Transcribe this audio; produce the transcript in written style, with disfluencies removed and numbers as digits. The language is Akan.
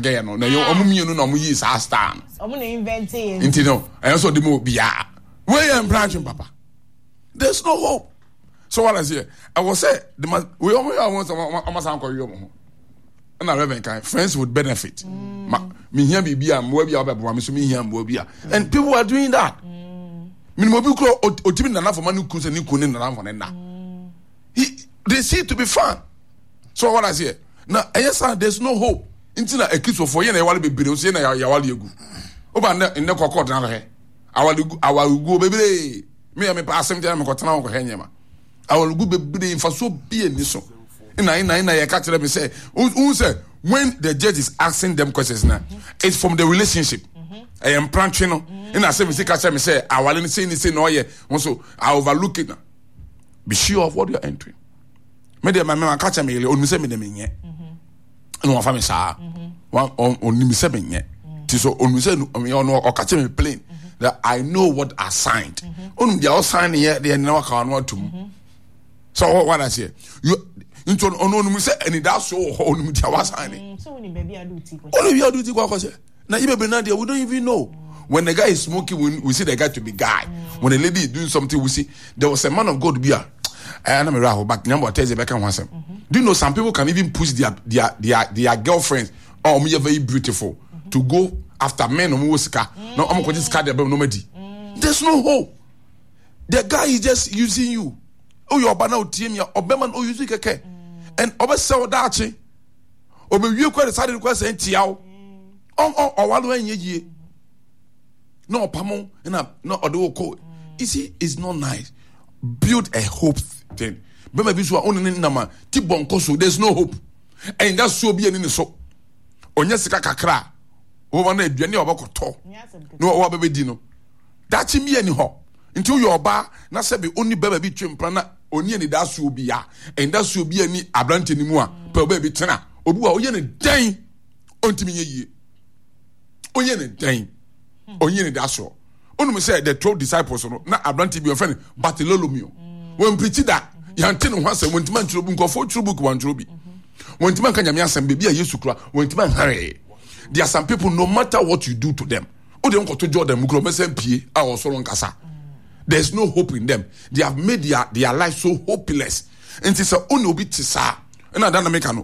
Gɛyɛ no na ɛyɛ ɔmo mmienu na ɔmo yii saa star no. Ɔmo na invent yɛ. Nti no ɛyɛ sɛ ɔde mu obiara. Wei yɛ mpratwe papa. There's no hope. So what I say, ɛwɔ sɛ de ma wei ɔmo yɛ ɔmo sɛ ɔmo asan kɔ wi ɔmo ho. Ɛna Reverend kan friends would benefit. Ma mehia biribi a mmoa bi a ɔbɛboa me so mehia mmoa bi a and people are doing that. Minimu obi kura otimi nanafo ma ne kun sɛ ne kun ne nanafo ne nna. He they see to be fun. So what I say na ɛyɛ saa there is no hope nti na akristofoɔ yɛn na yɛwale bebree nso yɛn na yɛwale egu. Oba nnɛ nnɛ kɔkɔɔ tena hwɛ awale gu awareguo bebree. Me yɛ mepɛ asɛm nti na mekɔtena hɔ kɔhwɛ nneɛma. Awareguo bebree mfasoɔ bi ani so. Nna nna nna yɛka kyerɛ me sɛ wohu sɛ when the judge is asking them questions na it's from the relationship. Ɛyɛ mprantwe no nna asɛm si ka kyerɛ me sɛ awale no sei ne sei na ɔyɛ ho so I overlook it na be sure of what you are entering. Me deɛ ma me ma ka kyerɛ me yere onim sɛ me de menyɛ. Ɛna wafa me saa. Onim sɛ menyɛ. Ti so onim sɛ ɔno ɔka kyerɛ me plain that I know what I signed. Onim deɛ ɔsign yɛ deɛ na waka ɔno atum. So what I say? You nti ɔno onim sɛ anidaso wɔ hɔ onim deɛ wasign. Onim baabi a ɔde ti kɔ. Onim baabi a ɔde ti kɔ akɔhyɛ. Na yi bebree na deɛ we don't even know. When the guy is smoking, we see the guy to be guy. When the lady is doing something, we see there was a man of God be a. Eh, na me raho but nyambo ateze beka ho asɛm. Do you know some people can even push their girlfriends oh um, very beautiful to go after men omo wo sika. Na omo kɔgye sika de abam no madi. There's no hope. The guy is just using you. Oh, your ɔba na otie mi a ɔbɛma no use kɛkɛ. And ɔbɛsɛ wo daakye. Ɔbɛwie kɔ de saa de kɔ sɛ ntia wo. Ɔwale wo ɛnyɛ yie. Na ɔpamo na na ɔde wo kɔ. You see, it's not nice. Build a hope thing. Bɛma bi so a ɔne ne nam a ti bɔ nkɔ so. There's no hope. Ɛnda so bi ani ne so. Ɔnyɛ sika kakra a wɔma no aduane a ɔbɛkɔtɔ na wɔabɛbɛdi no. Daakye bi ani hɔ. Nti woyɛ ɔbaa na sɛbe ɔni bɛma bi twe mpena na ɔni anidasoɔ bi a anidasoɔ bi ani aberante no mu a pɛ ɔbaa bi tena. Obi wɔ a ɔyɛ ne dɛn ɔntumi nyɛ yie. Ɔyɛ ne dɛn ɔnyɛ anidasoɔ. Wonim sɛ the 12 disciples no na aberante bi wɔfrɛ no Bartholomew. Wɔmpirikyi da yɛnte ne ho asɛm wɔntumi antwerɛ bi nkurɔfoɔ twerɛ book wɔantwerɛ bi. Wɔntumi anka Nyame asɛm baabi a Yesu kura wɔntumi anhare. There are some people no matter what you do to them wode nkɔto Jordan mu kura wɔbɛsɛn pie a ɔsoro nkasa. There is no hope in them. They have made their life so hopeless. Nti sɛ wo ne obi te saa ɛna da na meka no.